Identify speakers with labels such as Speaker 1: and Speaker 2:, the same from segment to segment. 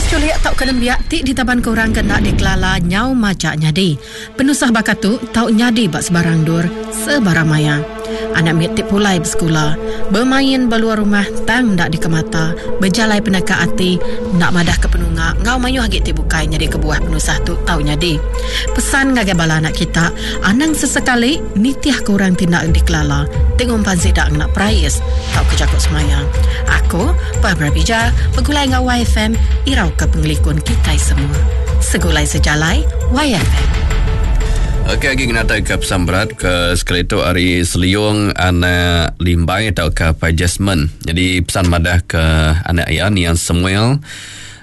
Speaker 1: Kes chulik tauka nembiak ti ditabanka orang ke enda dikelala nyau majak nyadi. Penusah baka tu tau nyadi ba sebarang endur, sebarang maya. Anak mit ti pulai besekula, bemain ba luar rumah tang enda dikemata, bejalai peneka ati, enda madahka penunga enggau mayuh agi ti bukai nyadi kebuah penusah tu tau nyadi. Pesan ngagai bala anak kita, anang sesekali nitihka orang ti enda dikelala ti ngumpan sida ngena perais tauka jaku semaya. Aku, Barbara Bija, begulai enggau YFM irauka pengelikun kitai semua. Segulai sejalai, YFM.
Speaker 2: Okey agi ngenatai ke pesan berat ke sekali tu ari Seliong anak Limbai tauka Pai Jasmine. Jadi pesan madah ke anak iya niang Samuel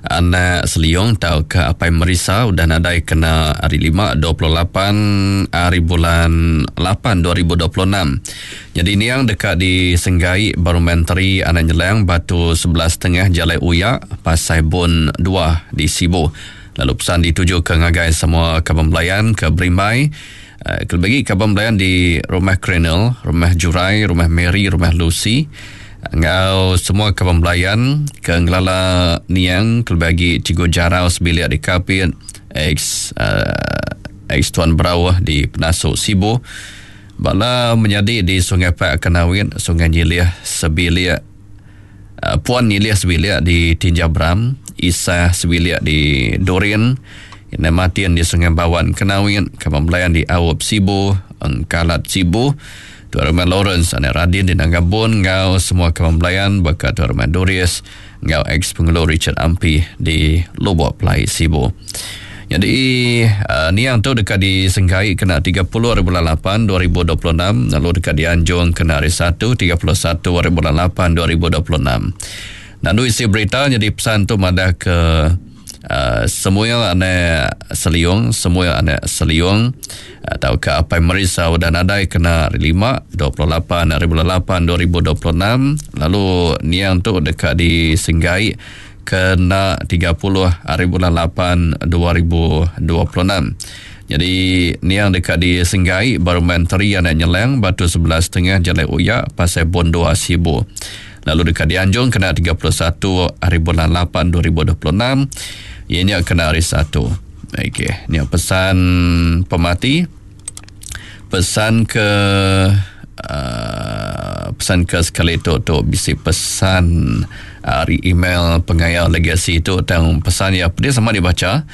Speaker 2: anak Seliong tauka Apai Merisa udah nadai kena hari 5 28 hari bulan 8 2026. Nyadi niang deka disenggai ba Rumah Enteri Anak Nyelang Batu 11 Tengah Jalai Uyak Pasai Bun 2 di Sibu. Lalu pesan ditujuka ngagai semua kaban belayan ke berimbai kelebih agi kaban belayan di Rumah Krenel, Rumah Jurai, Rumah Mary, Rumah Lucy enggau semua kaban belayan ke ngelala niang kelebih agi Cikgu Jarau sebilik di Kapit, ex ex Tuan Berauh di Penasu Sibu, bala menyadi di Sungai Pak Kanawit, Sungai Nyilih sebilik. Puan Nyilih sebilik di Tinjau Bram, Isah sebilik di Durin, Indai Martin di Sungai Bawan Kenawit, Kaban Belayan di Aup Sibu, Engkalat Sibu, Tuai Rumah Lawrence anak Radin di Nanga Bun enggau semua kaban belayan baka Tuai Rumah Doris enggau ex-Pengulu Richard Ampi di Lubok Pelai Sibu. Nyadi niang tu deka disenggai kena 30 hari bulan 8 2026 lalu deka dianjung kena hari 1 31 hari bulan 8 2026. Nandu isi berita nyadi pesan tu madah ke uh, Samuel anak Seliong, Samuel anak Seliong uh, tauka Apai Merisa udah nadai kena hari 5 28 hari bulan 8 2026 lalu niang tu deka disenggai kena 30 hari bulan 8 2026. Nyadi niang deka disenggai ba Rumah Enteri Anak Nyelang Batu 11 Tengah Jalai Uyak Pasai Bon 2 Sibu. Lalu deka dianjung kena 31 hari bulan 8 2026 iya nya kena hari Satu. Okey, nya pesan pemati. Pesan ke uh, pesan ke sekali tu tu bisi pesan ari email pengaya legasi tu tang pesan ya pedis sama dibaca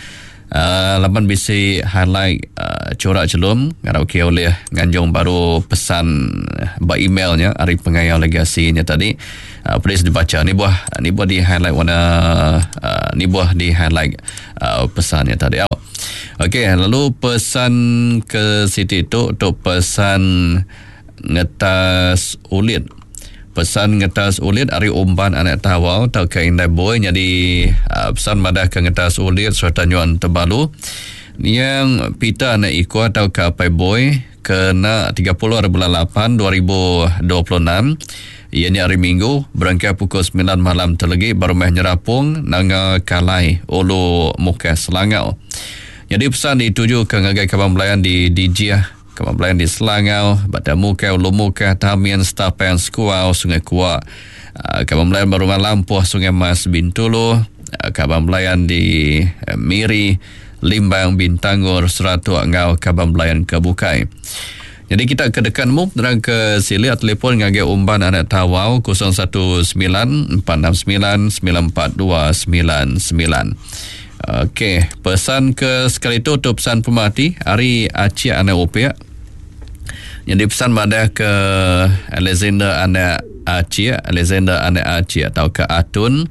Speaker 2: uh, laban bisi highlight uh, corak chelum ngarap ke ulih nganjung baru pesan ba email nya ari pengaya legasi nya tadi uh, pedis dibaca ni buah ni buah di highlight warna uh, ni buah di highlight uh, pesan nya tadi. Okey, lalu pesan ke siti tu tu pesan ngetas ulit. Pesan ngetas ulit ari umban anak tawau tauka indai boy nyadi uh, pesan madah ke ngetas ulit sereta nyuan tebalu. Niang Peter anak Iko tauka apai boy kena 30 hari bulan 8 2026 iya nya hari Minggu berengkah pukul 9 malam telegi ba rumah Nyerapong Nanga Kalai Ulu Mukah Selangau. Nyadi pesan dituju ke ngagai kaban belayan di Dijih, kaban belayan di Selangau, Batang Mukah, Ulu Mukah, Tamin, Stapang, Sekuau, Sungai Kuak, ah, kaban belayan ba rumah Lampuh, Sungai Mas, Bintulu, ah, kaban belayan di eh, Miri, Limbang, Bintangor, Seratok enggau kaban belayan ke bukai. Nyadi kita ke deka nemu penerang ke silik telefon ngagai Umban Anak Tawau 019 469 94299. Okey, pesan ke sekali tu tu pesan pemati ari Acik Anak Upik. Nyadi pesan madah ke Alexander Anak Acik, Alexander Anak Acik tauka Atun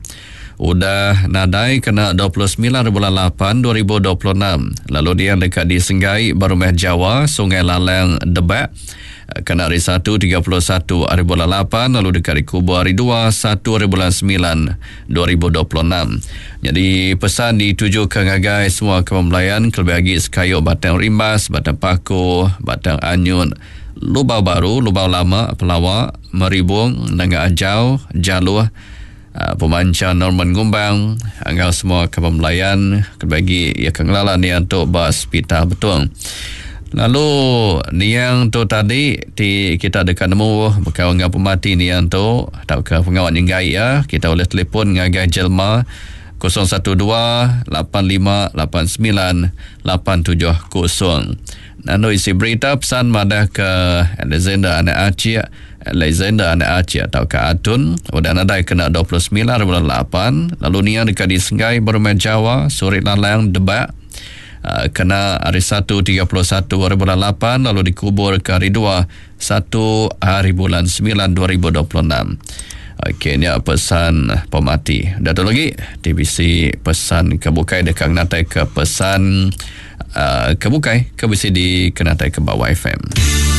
Speaker 2: udah nadai kena 29 bulan 8 2026 lalu dia deka disenggai ba Rumah Jawa Sungai Lalang Debak kena hari 1 31 hari bulan 8 lalu deka dikubur hari 2 1 hari bulan 9 2026. Jadi pesan ditujukan ngagai semua kaban belayan kelebih agi sekayu Batang Rimbas, Batang Paku, Batang Anyut, Lubau Baru, Lubau Lama, Pelawa, Meribung, Nanga Ajau, Jaluh, Ah, pemancha Norman Ngumbang enggau semua kaban belayan kelebih agi iya ke ngelala niang tu ba Sepital Betong. Lalu niang tu tadi ti kita deka nemu bekaul enggau pemati niang tu tauka pengawa nyenggai iya kita ulih telefon ngagai jelma. 012 85 89 870. Nandu isi berita pesan madah ke Alexander anak Achik, Alexander anak Achik tauka Atun udah nadai kena 29 hari bulan lapan lalu nia deka disenggai ba Rumah Jawa, Surik Lalang, Debak kena hari Satu 31 hari bulan lapan lalu dikubur ke hari Dua satu hari bulan semilan 2026. Okey nya pesan pemati. Udah tu lagi ti bisi pesan ke bukai deka ngenatai ke pesan uh, ke bukai ke bisi dikenatai ke ba YFM.